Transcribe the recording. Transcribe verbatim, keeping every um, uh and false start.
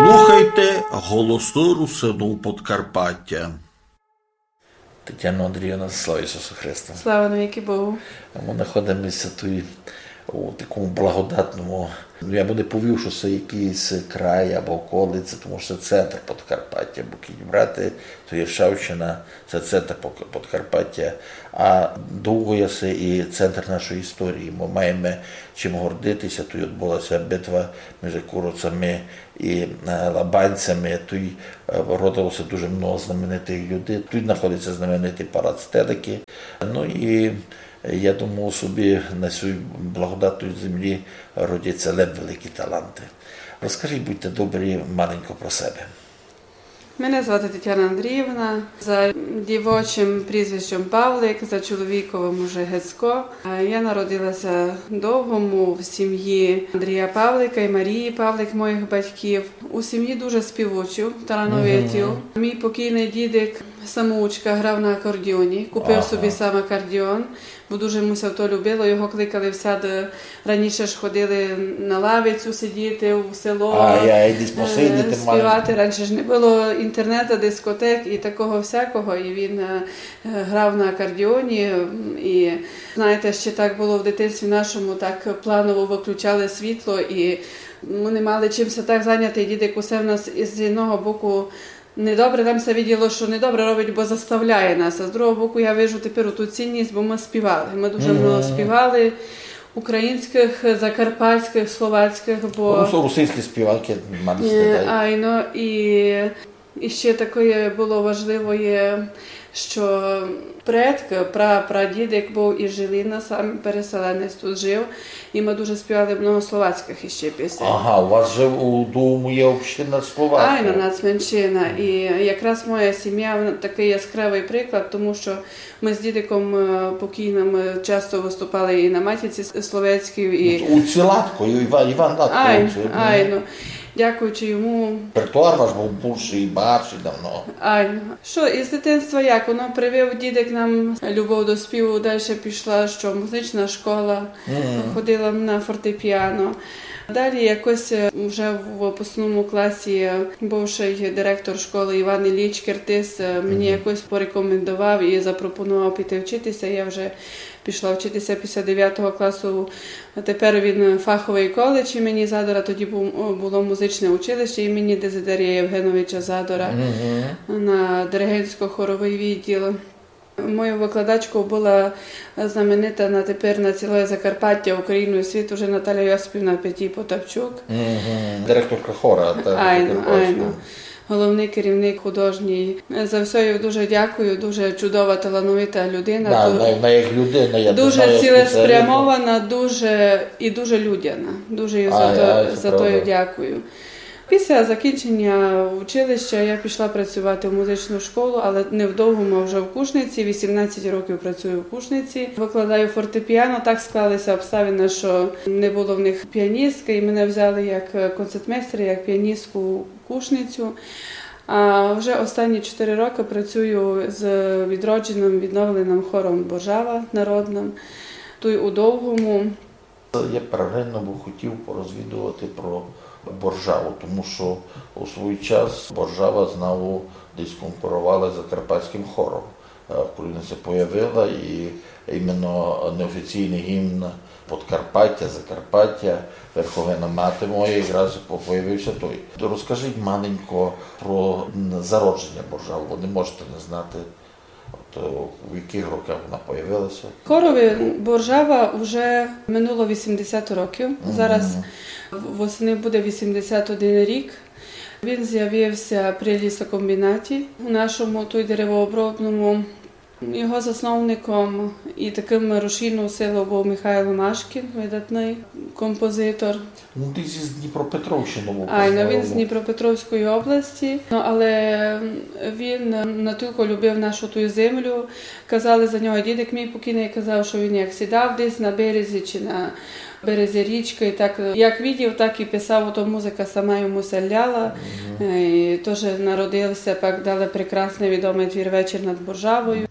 Слухайте Голосы Русинув Подкарпатя. Тетяно Андріївно, слава Ісусу Христу! Слава навікы Богу! Мы находимося туй у такому благодатному, ну, я бы не повів, што се якыйсь край або околиця, тому што се центр Подкарпатя, бо кідь брати, то Іршавщина, се центр Пок-, Подкарпатя, а Довгоя се і центр нашої історії. Мы маєме чим гордитися. Туй одбулася битва між Куровцями і, е, Лабанцями. Туй, е, родилося дуже много знаменитых людей. Туй знаходиться знаменитый палац Теликы. Ну і я думав собі, на сюй благодатній землі родяться лем великі таланты. Розкажіть, будьте добрі, маленько про себе. Мене звати Тетяна Андріївна. За дівочым прізвищом Павлик, за чоловіковым уже Гецько. Е, я народилася в Довгому в сім'ї Андрія Павлика і Марії Павлик, моїх батьків. У сім'ї дуже співучів, талановитів. Мій покійный дідик самоучка грав на акордіоні, купив собі сам акордіон, бо дуже му ся то любило. Його кликали всяды, раніше ж ходили на лавицю сидіти, в село, е, співати. Раніше ж не было інтернета, дискотек і такого всякого. І він, е, е, грав на акордіоні. М, і, знаєте, ще так было в дитинстві нашому, так планово выключали світло, і мы не мали чим ся так заняти. Дідик усе в нас із одного боку недобре, нам ся виділо, што недобре робить, бо заставляє нас. А з другого боку, я вижу тепер ту цінність, бо мы співали. Мы дуже много співали українськых, закарпатськых, словацькых, бо... Рус-, русинські співанкы мали сте, айно, і, і ще такоє было важливоє, што предк, пра-, прадідик быв із Жилина, сам переселенець тут жив, і мы дуже співали много словацькых іщи пісень. Ага, у вас же у Довгому є община словаків. Айно, нацменшина. І якраз моя сім'я, вона такый яскравый приклад, тому што мы з дідиком, е, покійным, е, часто выступали і на Матіці с-, Словецькій, і... У цілатку, Іван, Іван Латко. Айно, айно. Дякуючи йому. Репертуар ваш быв бульшый і багатшый давно. Айно. Што, із дитинства як? Воно привив дідик нам любов до співу, дальше пішла, што музична школа, ходила на фортепіано. Далі якось, е, вже в выпускному класі бывшый директор школы Іван Ілліч Киртис, е, мені якось порекомендовав і запропонував піти вчитися. Я вже пішла вчитися після девятого класу. Тепер він фаховый коледж імені Задора, тоді бу-, было музичне училище імені Дезидерія Євгеновича Задора на диригентсько-хоровый відділ. Мою викладачкою была знаменита на тепер на цілоє Закарпаття, Україну і світ уже Наталя Йосипівна Петій-Потапчук. Директорка хора, так, айно, айно. Головный керівник художній. За всьо їй дуже дякую, дуже чудова, талановита людина. Да, ду-, вона як людина, я дуже цілеспрямована, дуже, і дуже людяна. Дуже їй за то, за то їй дякую. Після закінчення училища я пішла працювати в музичну школу, але не в Довгому, а вже в Кушниці. Вісімнадцять років працюю в Кушниці. Викладаю фортепіано. Так склалися обставини, що не було в них піаністки, і мене взяли як, е, концертмейстера, як піаністку в Кушницю. А вже останні чотири роки працюю з відродженим, відновленим хором Боржава народним, туй у Довгому. Я первинно бы хотів порозвідувати про Боржаву, тому што у свій час Боржава знову десь конкурувала з закарпатським хором, е, коли вона ся появила, і іменно неофіційный гімн Подкарпатя, Закарпатя, Верховина мати моя, якраз по-, появився той. Розкажіть маленько про, м, зародження Боржави, бо не можете не знати. От, е, в якых роках вона появилася? Хорови Боржава уже минуло вісімдесят років. Зараз в-, восени буде вісімдесят один рік. Він з'явився при лісокомбінаті у нашому, той деревообробному. Його засновником і таким рушійною силою був Михайло Машкін, видатний композитор. Ну, десь із Дніпропетровщини був. Айно, він з Дніпропетровської області. Ну, але він натілько любив нашу ту землю. Казали за нього, дідик мій покійний казав, що він як сідав десь на березі чи на березі річки, і так, як видів, так і писав, то музика сама йому ся ляла. Е, і теж народився, пак далі прекрасний відомий твір «Вечір над Боржавою».